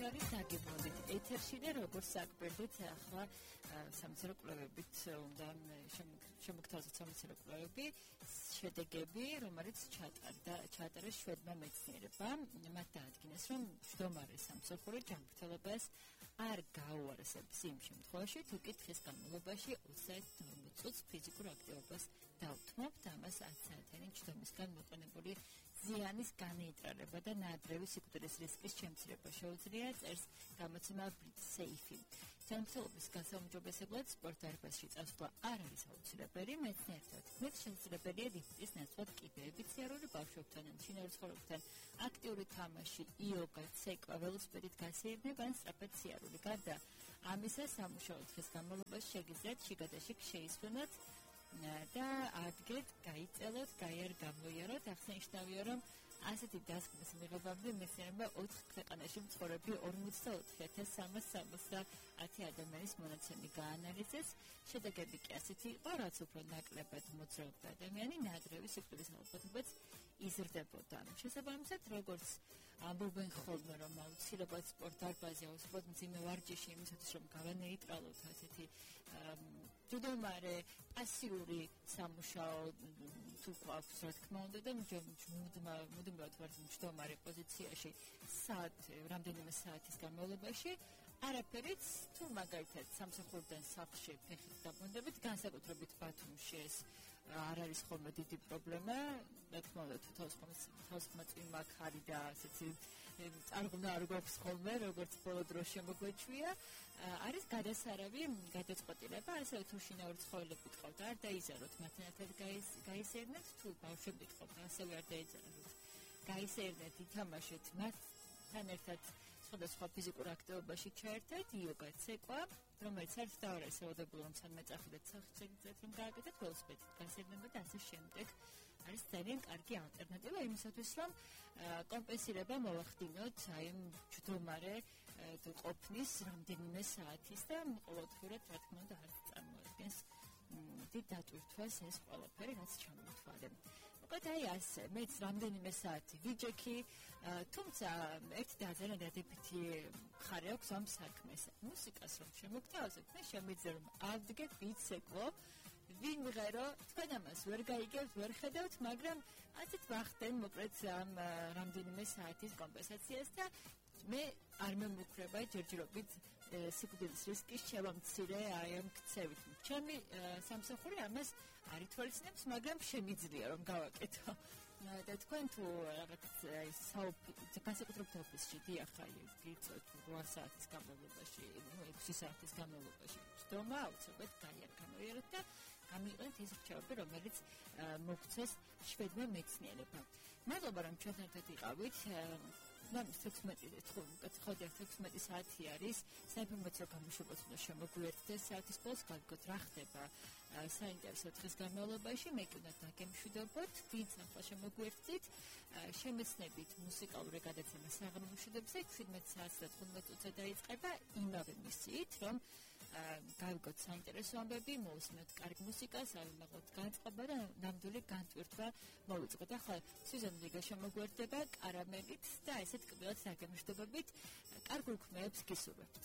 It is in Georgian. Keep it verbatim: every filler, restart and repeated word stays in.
სპეციალის დაგემოდით ეთერში და როგორც საკმედით ახლა სამეცნიერო კვლევებით უნდა შემოგთავაზოთ სამეცნიერო კვლევები შედეგები, რომელიც ჩატარდა ჩაატარეს შვედმა მეცნიერებმა. მათ დაადგინეს, რომ მჯდომარე სამსახური ჯანმრთელობას არ გაუარესებს იმ შემთხვევაში, თუ კი დღის განმავლობაში ოცდაერთი წუთს ფიზიკურ აქტივობას დავთმობთ, ამას ათი საათიანი ჯდომისგან მოყენებული ზიანის განეიტრალება და ნაადრევი სიკვდილის რისკის შემცირება შეუძლია, წერს გამოცემა BritSafe. ჯანმრთელობის გასაუმჯობესებლად სპორტ დარბაზში წასვლა არ არის აუცილებელი, მეცნიერთა თქმით, შესაძლებელია ლიფტის ნაცვლად კიბეებით, სიარული ბავშვებთან ან შინაურ ცხოველებთან, აქტიური თამაში, იოგა, ცეკვა, ველოსიპედით გასეირნება ან სწრაფად სიარული. გარდა ამისა, სამუშაო დღის განმავლობაში შეგიძლიათ შიგადაშიგ შეისვენოთ და ადგეთ, გაიწელოთ, გაიარ გამოიაროთ. აღსანიშნავია, რომ ასეთი დასკვნის მიღებამდე მეცნიერებმა ოთხ ქვეყანაში მცხოვრები ორმოცდაოთხი ათას სამას სამოცდაათი ადამიანის მონაცემი გაანალიზეს. შედეგები კი ასეთი იყო, რაც უფრო ნაკლებად მოძრაობდა ადამიანი, ნაადრევი სიკვდილის ალბათობაც იზრდებოდა. შესაბამისად, როგორც ამბობენ ხოლმე, რომ აუცილებლად სპორტ დარბაზი, აუცილებლად მძიმე ვარჯიში იმისათვის, რომ გავანეიტრალოთ ასეთი მჯდომარე პასიური სამუშაო თუ გვაქვს, რა თქმა უნდა, და მუდმივად ვართ მჯდომარე პოზიციაში საათ, რამდენიმე საათის განმავლობაში, არაფერიც, თუ მაგალითად სამსახურიდან სახლში ფეხით დაბრუნდებით, განსაკუთრებით ბათუმში ეს არ არის ხოლმე დიდი პრობლემა, რა თქმა უნდა, თუ თავისხმაწვიმა ხარი და ასეთი წარღვნა არ გვაქვს ხოლმე, როგორც ბოლო დროს შემოგვეჩვია, არის გადასარავი გადაწყვეტილება, ასევე თუ შინაური ცხოველები გყავთ, არ დაიზაროთ მათთან ერთად გაისერნეთ, თუ ბავშვები გყავთ, ასევე არ დაიზაროთ, გაისერნეთ, ითამაშეთ მათთან ერთად სხვადასხვა ფიზიკურ აქტივობაში ჩაერთეთ, იოგა, ცეკვა, რომელიც არის დაარესებებული, რომ სანამ ეწახიდეთ სახით, რომ გააკეთეთ ველოსიპედით გასეირნება და ასე შემდეგ. არის ძალიან კარგი ალტერნატივა იმისათვის, რომ კომპენსირება მოვახდინოთ აი ამ ჯდომარე ყოფნის რამდენიმე საათის და ყოველდღიურად, რა თქმა უნდა, არ წარმოადგენს დიდ დატვირთვას ეს ყველაფერი, რაც ჩამოთვალე. მოკლედ აი ასე, მეც რამდენიმე საათი ვიჯექი, თუმცა ერთი და ძალიან დადებითი მხარე აქვს ამ საქმეს. მუსიკას რომ შემოგთავაზებ, მე შემიძლია რომ ავდგე, ვიცეკვო, ვიმღერო, თქვენ ამას ვერ გაიგებთ, ვერ ხედავთ, მაგრამ ასეთ ვახდენ მოკლედ ამ რამდენიმე საათის კომპენსაციას და მე არ მემუქრება ჯერჯერობით სიკვდილის რისკის შევამცირე აი ამ ქცევით. ჩემი სამსახური ამას არ ითვალისწინებს, მაგრამ შემიძლია რომ გავაკეთო. და თქვენ თუ რაღაც აი განსაკუთრებით ოფისში დიახარ გიწევთ რვა საათის განმავლობაში, ექვსი საათის განმავლობაში ჯდომა აუცილებლად გაიარ გამოიეროთ და გამიყვანეთ ის რჩევები, რომელიც მოგცეს შვედმა მეცნიერებმა. მადლობა, რომ ჩვენთან ერთად იყავით. ნამის თექვსმეტი საათი არის საინფორმაციო გამოშვებას უნდა შემოგვიერთდეს საათის ბოლოს გავიგოთ რა ხდება საინტერესო დღის განმავლობაში, მე კი უნდა დაგემშვიდობოთ, ვინც ახლა შემოგვიერთდით, შემეცნებით მუსიკალური გადაცემა საღამო მშვიდობზე შვიდმეტ საათს და თხუთმეტ წუთზე დაიწყება იმავე მისიით, რომ გავიგოთ საინტერესო ამბები, მოვუსმინოთ კარგი მუსიკას, ავიმაღლოთ განწყობა და ნამდვილი განტვირთვა მოვიწყოთ. ახლა სიზონ ლიგა შემოგვიერთდება კარამელით და ესეთ კბილად საგემშვიდობებით კარგულ ქმეებს გისურვებთ.